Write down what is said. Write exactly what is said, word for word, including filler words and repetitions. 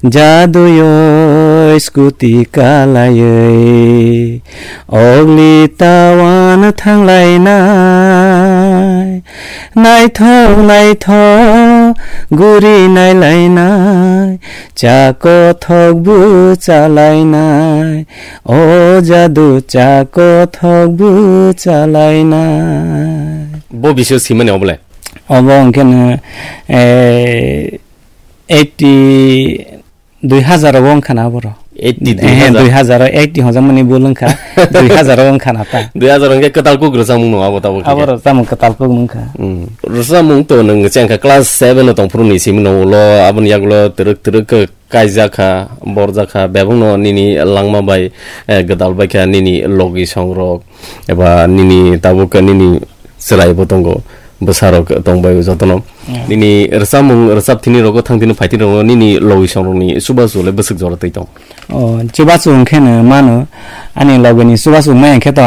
Jaduyoi scooty kalaioi, ogli tawan thanglainai. Naithok naithok guri nailainai, cha kothok bwchalainai. O jadu cha kothok bwchalainai. Bo bisio simani obolai? Obo hwnkhe no, eh, eighty, dui hazar o wngkha na aboro. Eighty, Ehe, dui hazar. Dui hazar o eighty hwnjakmani bul wngkha, dui hazar o wngkha na ta. Dui hazar hwnkhe kwtal kuk rwchapmung no abo tabuk hwnkhe. Aboro chamung kwtal kuk wngkha. Hmm. Rwchapmung to nwng chengkha class seven o tongphuru ni simi no ulo aboni yagulo twrwk twrwk khe kaijak kha, borjak kha, bebakno nini langma bai, eh, gwdal bai kha nini logi songrok, eba nini tabuk nini chwrai bo tongo, bwsarok tongbai jotono. Yeah. Nini rwchapmung, rwchap thini rogo, thang thini phai thini rogo, nini logi songrokni chubachu le bwswk jora twi tong? Oh, chubachu hwnkhe no mano, ani logini chubachu maya khe to ang